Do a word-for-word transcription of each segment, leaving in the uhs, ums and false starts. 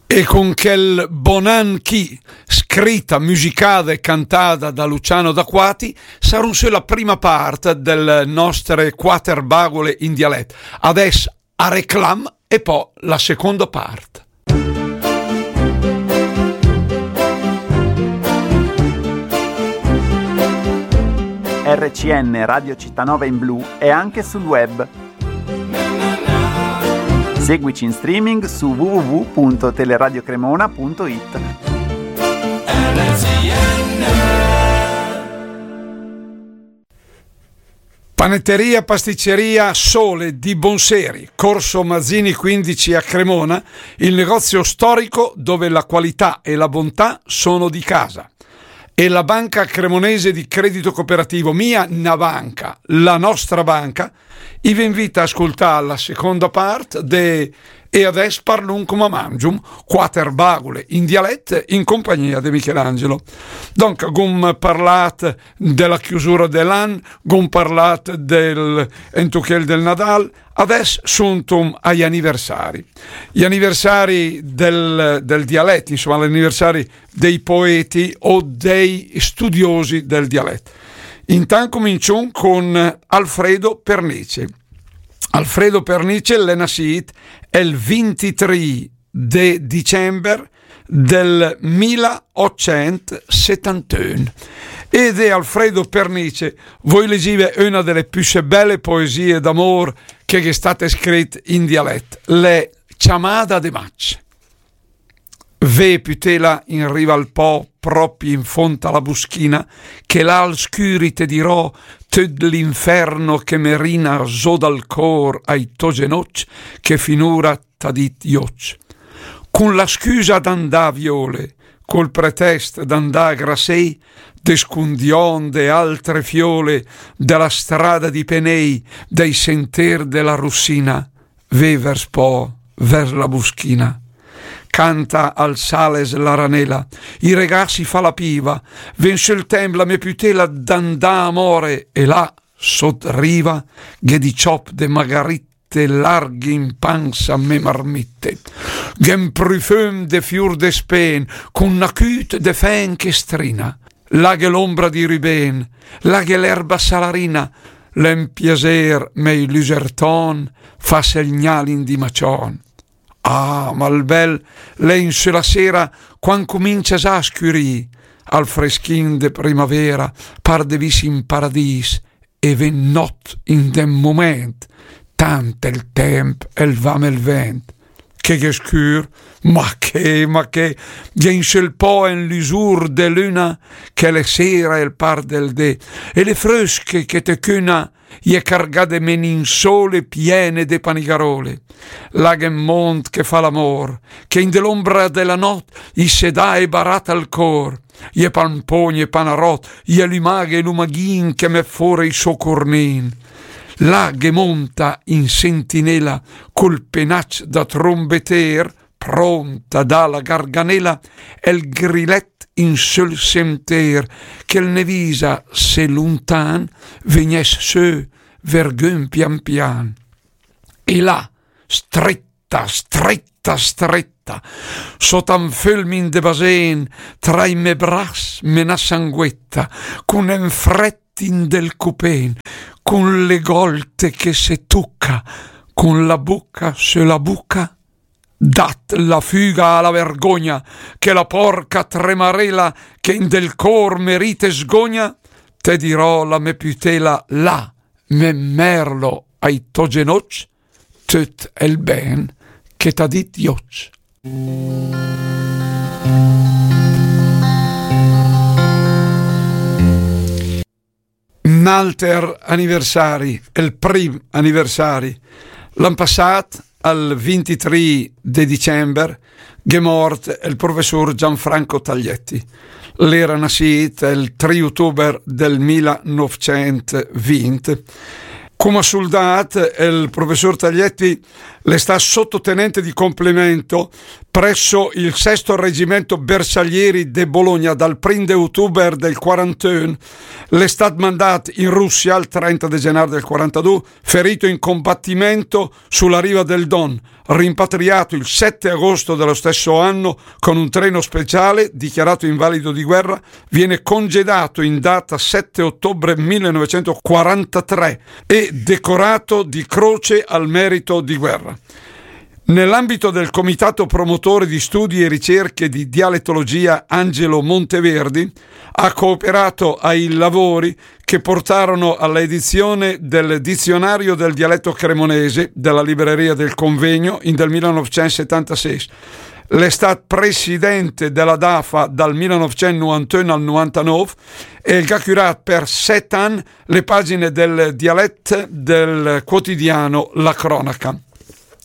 E con chèl Bon an chì, scrita, musicada e cantada da Luciano D'Acquati, sarùm sö la prima part del nostre quater bagole in dialèt. Adès a reclam e pò la seconda part. R C N Radio Città Nova in blu è anche sul web. Seguici in streaming su w w w punto teleradio cremona punto i t. Panetteria Pasticceria Sole di Bonseri, Corso Mazzini quindici a Cremona, il negozio storico dove la qualità e la bontà sono di casa. E la Banca Cremonese di Credito Cooperativo, mia na banca, la nostra banca, i ve invita a ascoltà la seconda part de E adès parlùm coma mangium, quater bagole in dialèt in compagnia de Michelangelo. Donc, gum parlàt de la chiusura de l'an, gum parlàt del entuchel del Nadal, adès suntum ai aniversari. I aniversari del, del dialèt, insoma, l'aniversari dei poeti o dei studiosi del dialèt. Intant cumincium con Alfredo Pernice. Alfredo Pernice l'è nassìt el vintitrì de dicember del mila otcent setantun. E de Alfredo Pernice voi legive una de le püssé bèle poesie d'amor che gh'è state scrit in dialèt, l'è Ciamada de maig. Vé pütéla in riva al pò, pròpi in fónd a la buschina, che là al scüri te dirò töt l'inferno che me rina zó dal cór ai tò genoc, che finura t'à dit ioc. Cun la scüsa d'andà a vióle, col pretèst d'andà a graséi, descundión de altre fióle, de la strada di penéi, dai sentér de la Russina, vé vers pò, vers la buschina. Canta al sàles la ranela, i regàs i fà la piva, vé in sö 'l tèmp la mé pütéla d'andà a móre, e là, sót riva, gh'è di ciòp de magarite larghe in pansa mé marmite. Gh'è 'n prufüm de fiur de spén, cun na cüt de fèn che strina. Là gh'è l'ombra di rübén, là gh'è l'erba salarina, l'è 'n piasér mé i lüsertón fà segnà l'indi mación. Ah, ma 'l bèl l'è in sö la séra, quand cumincia zà a scürì, al freschin de primavéra, par de vìs in paradìs, e vé 'n nòt in d'ün momènt, tant el tèmp el va 'm el vènt. Che gh'è scür, ma che, ma che, gh'è in sö 'l pò en lüsur de lüna, che l'è séra el par del dé, e le frösche che te cüna, i è cargà de meninsóle piène de panigaròle. Là gh'è 'n mónd che fa l'amór, che in de l'ombra de la nòt i se dà e baràt al cór. I è Pampógn e Panaròt, i è Lümaghe e Lümaghin che mèt fóra i sò curnin. Là ghe mónta in sentinéla col penac da trombetér, prónt a dà la garganéla, el grilèt in sö 'l sentér, che 'l ne visa se luntan vegnès sö vergün pian pian. E là, stretta, stretta, stretta, sóta 'n fölmin de basén, tra i mé bras me na sanguetta, cun en frèt in del cupén, cun le gólte che se tuca, cun la buca sö la buca, dat la füga a la vergogna, che la pòrca tremarela che in del cór me rite sgogna, te dirò la mé pütéla là, me mèrlo ai tò genoc, töt el bèn che t'à dit ioc. N'alter aniversari, el prim aniversari. L'an pasàt, al vintitrì de dicember, gh'è mórt el professur Gianfranco Taglietti. L'era nassìt el tri utuber del milanövcent vint. Coma suldàt, el professur Taglietti L'è stàt sottotenente di complemento presso il sesto reggimento bersaglieri de Bologna dal prim de utuber del quarantuno. L'è stàt mandàt in Russia il trenta de gennaio del quarantadù, ferito in combattimento sulla riva del Don, rimpatriato il sette agosto dello stesso anno con un treno speciale, dichiarato invalido di guerra, viene congedato in data sette ottobre millenovecentoquarantatré e decorato di Croce al Merito di Guerra. Nell'ambito del Comitato Promotore di Studi e Ricerche di Dialettologia Angelo Monteverdi ha cooperato ai lavori che portarono alla edizione del Dizionario del Dialetto Cremonese della Libreria del Convegno in del millenovecentosettantasei. L'è stàt presidente della DAFA dal millenovecentonovantuno al novantanove e el gh'à curàt per sèt ann le pagine del dialett del quotidiano La Cronaca.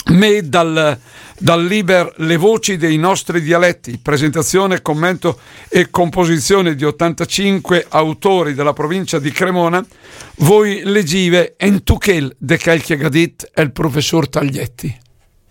Mé dal, dal liber Le voci dei nostri dialetti, presentazione, commento e composizione di ottantacinque autori della provincia di Cremona, voi legive en tuchel de chel che gh'à dit el professor Taglietti.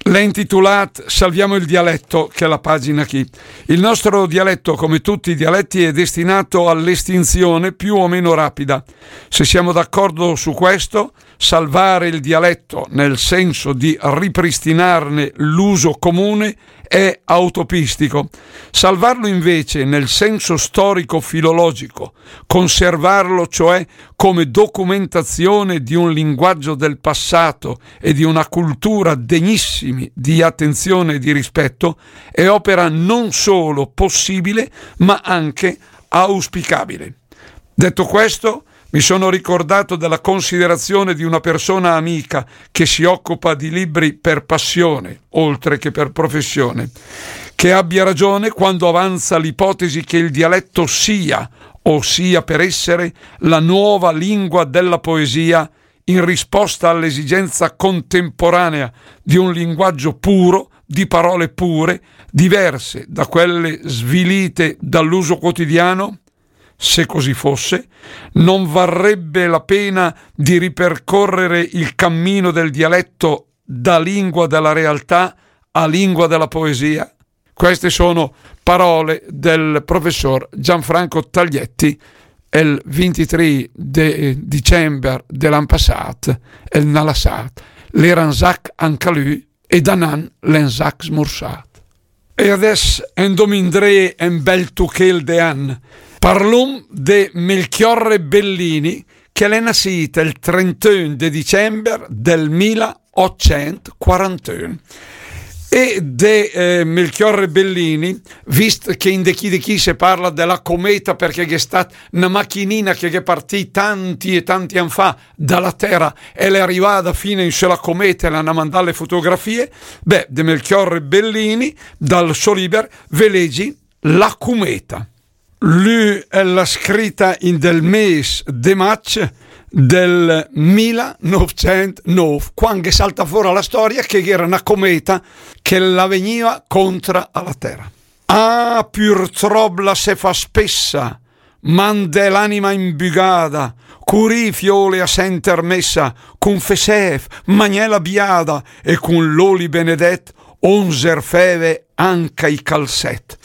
L'è intitulàt Salviamo il dialetto, chela pagina chì. Il nostro dialetto, come tutti i dialetti, è destinato all'estinzione più o meno rapida. Se siamo d'accordo su questo, salvare il dialetto, nel senso di ripristinarne l'uso comune, è autopistico. Salvarlo invece nel senso storico-filologico, conservarlo cioè come documentazione di un linguaggio del passato e di una cultura degnissimi di attenzione e di rispetto, è opera non solo possibile, ma anche auspicabile. Detto questo, mi sono ricordato della considerazione di una persona amica che si occupa di libri per passione, oltre che per professione, che abbia ragione quando avanza l'ipotesi che il dialetto sia, o sia per essere, la nuova lingua della poesia in risposta all'esigenza contemporanea di un linguaggio puro, di parole pure, diverse da quelle svilite dall'uso quotidiano? Se così fosse, non varrebbe la pena di ripercorrere il cammino del dialetto da lingua della realtà a lingua della poesia? Queste sono parole del professor Gianfranco Taglietti, el vintitrì de dicember de l'an passàt, el n'à lassàt l'eranzac anca lü, e da n'an l'è 'nzac smursàt. E adess endom indré en bel tuchel de an. Parlom de Melchiorre Bellini, che l'è nassìt el trentuno de dicember del milleotcentoquarantuno. E de eh, Melchiorre Bellini, vist che in de chì de chì se parla de la cometa, perché gh'è stat na machinina che gh'è partì tanti e tanti ann fa da la Terra e l'è arrivada fina in sö la cometa e l'han mandà le fotografie, beh, de Melchiorre Bellini, dal so liber, ve legi La cometa. Lü l'ha scrita in del mes de maig del millenovecentnove, quand che salta fora la storia che gh'era na cometa che la vegniva contra a la Terra. Ah, purtrop la se fa spessa, mande l'anima imbügada, curì fiole a senter messa, confessèv, magnè la biada e cun l'oli benedet, onzer fève anca i calzet.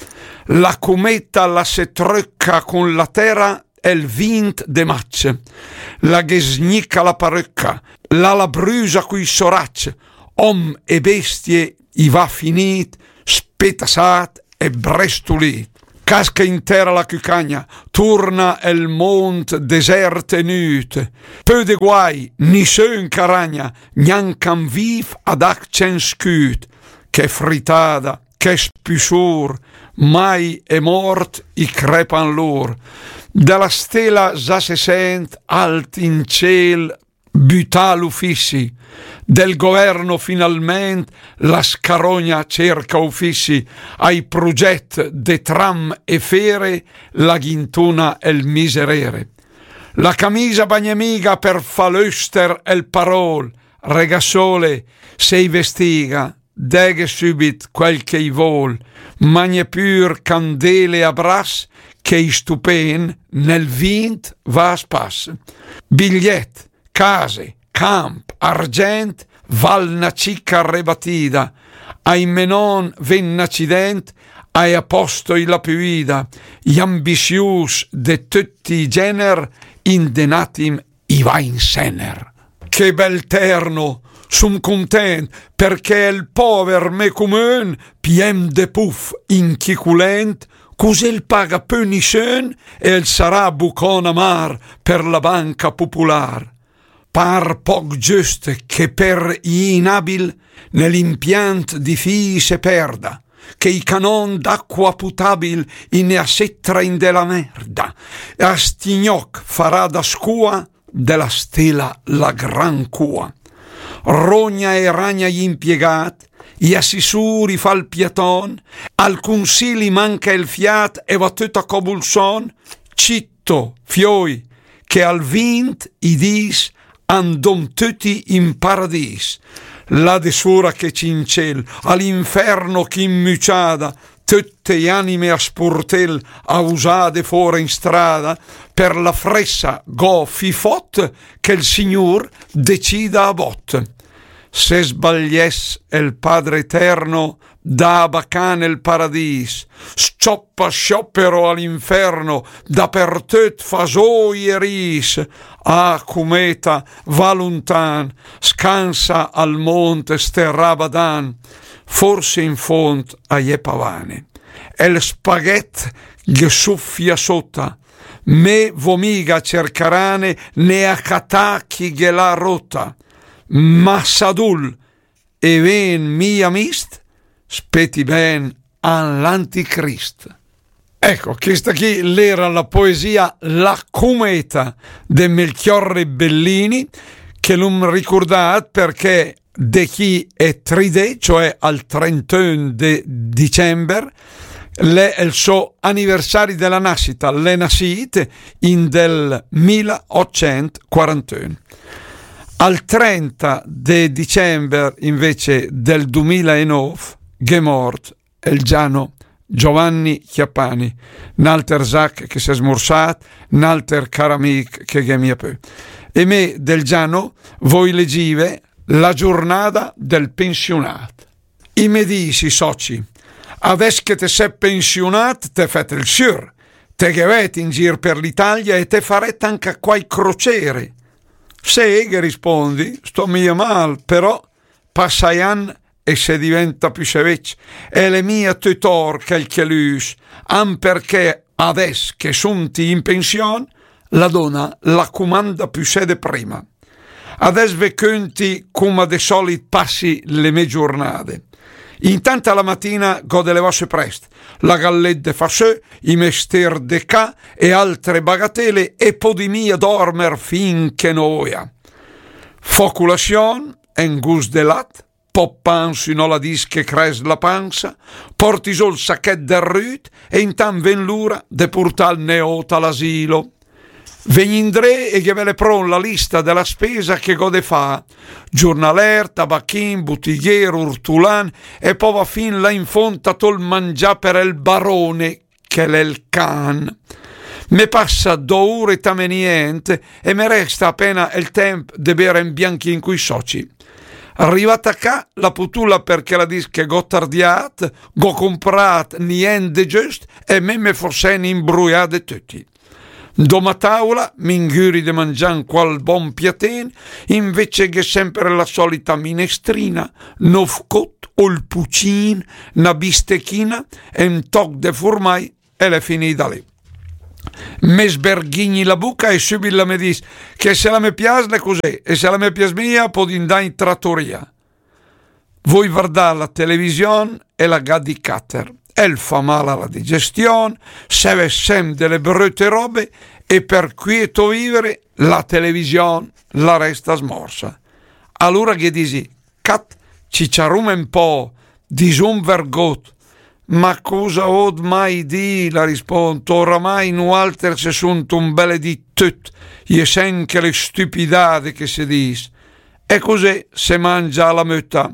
La cometa la se tröcca cun la Terra el vint de maig. La ghe sgnica la paröcca, la la brüsa cui so ragg. Om e bestie i va finit, spetassat e brestulì. Casca in tera la cucagna, turna el mond desert e nüt. Pö de guai, nissün caragna, gnanca 'n viv ad ach censcüt. Che fritada, che spüsur, mai e mort i crepan lur. Da la stela za se sent alt in ciel büta l'ufissi, del governo finalment la scarogna cerca ufissi, ai prugett de tram e fere la gh'intuna el miserere. La camisa bagnemiga per fa l'öster el parol, regassole, se i vestiga, deghe sübit quel che i vol, magne pür candele a brass che i stupen nel vint va a spass. Bigliett, case, camp, argent, val na cica rebatida, ai me non ven n' acident, ai apostoi la püida, i ambisius de töcc i gener, in de n'atim i va in sener. Che bel terno, sum cuntent, perché el pover me cumün, piem de puf, inchiculent, cus'el paga pö nisün, el sarà bucon amar per la banca pupular. Par poc giüst che per i inabil ne l'impiant di fii se perda, che i canon d'acqua putabil i ne assetra in de la merda, e a stignoc farà da scua de la stela la gran cua. Rogna e ragna i impiegat, i assissuri fa il piaton, al cunsili manca il fiat e va tüt a cobulson, citto, fioi, che al vint i dis andom tüti in paradis. Là de sura che c'incel, all'inferno ch'in müciada, tötte i anime a spurtel, a usade fora in strada, per la fressa go fifot che il Signur decida a bot. Se sbaglies el Padre Eterno, da bacan el paradis, scioppa sciopero all'inferno, dapertöt fa soi e ris, ah, cumeta, va luntan, scansa al mont sterà badan, forse in font a je pavane. El spaghet ghe suffia sota, me vo miga cercarane né a catà chi ghe l'ha rota, ma sadul e ven mia mist, speti ben all'anticrist. Ecco, questa qui l'era la poesia La cumeta de Melchiorre Bellini, che l'um ricordat perché de chi è tri dì, cioè al trentuno de dicembre, l'è il so anniversario della nascita, l'è nascit in del milleottocentoquarantuno. Al trenta de dicembre invece del duemilanove gh'è mort el Giano Giovanni Chiappani, n'alter zac che s'è smursat, n'alter car amic che gh'è mia pö. E me del Giano voi legive la giurnada del pensionat. I me dis i soci: adès che te se pensionat, te fet el sür, te ghe vet in gir per l'Italia e te faret anca quai crociere. Se, ghe rispondi, sto mia mal, però passa i ann e se diventa püssee vecc, e l'è mia töt or chel che l'üs, an perché adès che sunti in pension, la dona la cumanda püssee de prima. Adès ve cönti cuma de solit passi le me giurnade. Intant a la matina gh'ho de levà sö prest, la gallet de fà sö, i mester de cà e altre bagatele e podi mia dormer fin che noia. Fo culasion, en gust de lat, pò pan sü no la dis che cres la pansa, porti sö el sachet del rüt e intant ven l'ura de purtà el neot a l'asilo. Vegn indré e ghe vele pron la lista de la spesa che gh'ho de fà, giurnaler, tabachin, butighier, urtulan, e pò va fin là in font a tö el mangià per el barone, che l'è el can. Me passa do ure tamé nient e me resta apena el temp de bere en bianchin cui soci. Rivat a cà, la putula, perché la dis che gh'ho tardiat, gh'ho cumprat nient de giust e me me fo sen imbruià de töti. Doma taula, m'ingüri de mangià en qual bon piatin, invece gh'è semper la solita minestrina, n'öf cot, ol pucin, na bistechina, en toc de furmai, e l'è finida lì. Me sberghigni la buca e sübit la me dis che se la me pias l'è cusì e se la me pias mia podi indà in tratoria. Voi vardà la television e la gh'ha di cater. El fa mal a la digestion, se ve sem de le bröte robe e per quieto vivere la television la resta smorsa. Alura ghe disi: cat, ciciarum en pò, disum vergot. Ma cusa vöt mai dì, la rispont, oramai nualter se sunt un beledit töt, i è sen chele stüpidade che se dis. E cusì se mangia a la möta.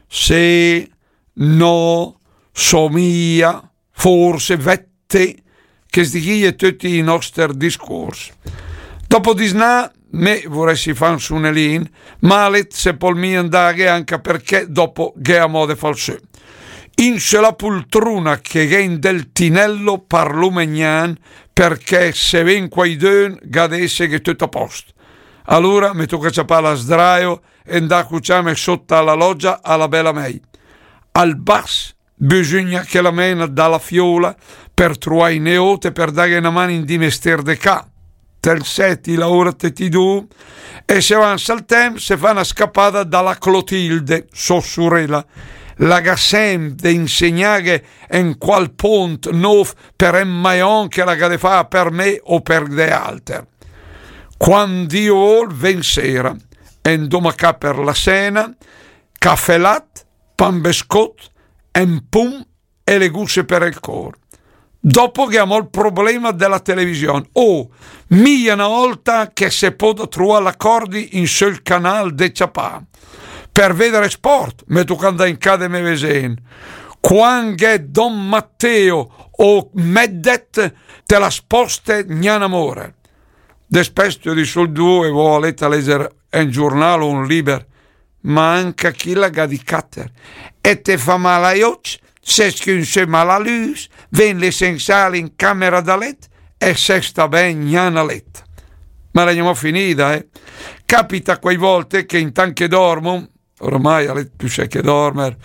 Se, no, somia, forse, vette, chesti chi i è töti i noster discurs. Dopo disnà, me vurèssi fà un sunelin, ma a lét se pöl mia 'ndaghe, anca perchè dopo gh'è amò de fà 'l sö. In sö la pultruna che gh'è in del tinello parlóm gnan, perchè se ven quaidün gh'à de èsseghe töt a post. Alura me toca ciapà la sdraio e 'ndà a cuciàm sóta a la loggia a la bèla mèi. Al bas bisügna che la mèna da la fiöla per truà i neót e per daghe na man in di mestér de cà. Te 'l sét, i laura töti du, e se avansa 'l tèmp, se fa na scapada da la Clotilde, sò surela. La gh'à sèmp de insegnàghe en qual pónt nóf per en maion che la gh'à de fà per me o per de alter. Quand Dio völ, ven séra, e 'ndóma a cà per la sèna, cafè lat, pan bescót, en pum e le gusse per el cór. Dopo gh'è amò 'l problema de la televisión. Oh, mia na ólta che se pöda truà l'acordi in söl canal de ciapà. Per véder sport, me toca 'ndà in cà de me vesen. Quand gh'è Don Matteo o Meddet, te la sposte gnan amò. Despès te di sö 'l du e vó a lét a lèger en giurnal o un liber, ma anca chì la gh'à di càter. E te fa mal ai öcc, se scünsöma la lüs, ven le sensale in camera da lét e se sta ben gnan a lét. Ma l'è gnamò finida, eh? Capita quai vólte che intant che dormo, oramai a lét püssé che dormer,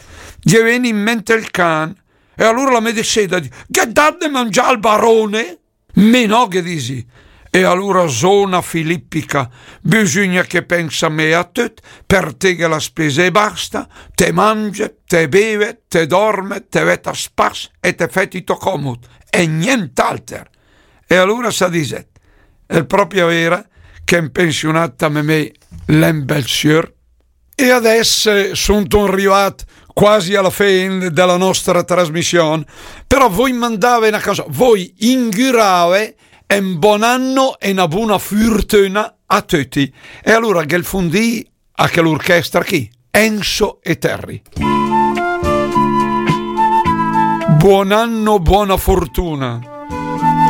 ghe ven in mènt el can, e alura la me desèda, dì: "Gh'ét dat de mangià al barone?" "Me no", ghe disi. E alura zona filippica, bisügna che pensa me a töt, per te gh'è la spesa e basta, te mange, te beve, te dorme, te vèt a spas e te fèt i tò còmod, e nient'alter. E alura sa disèt, l'è pròpi vera che en pensiunada me me l'è en bel siör. E adès, eh, sun rivàt quasi a la fé de la nostra trasmission, però vöi mandàve na canzon, vöi ingüràve en bon anno e na buna furtüna a töti. E alura gh'è 'l fundì a chèl'urchestra chì, Enzo e Terry. Buon anno, buona fortuna.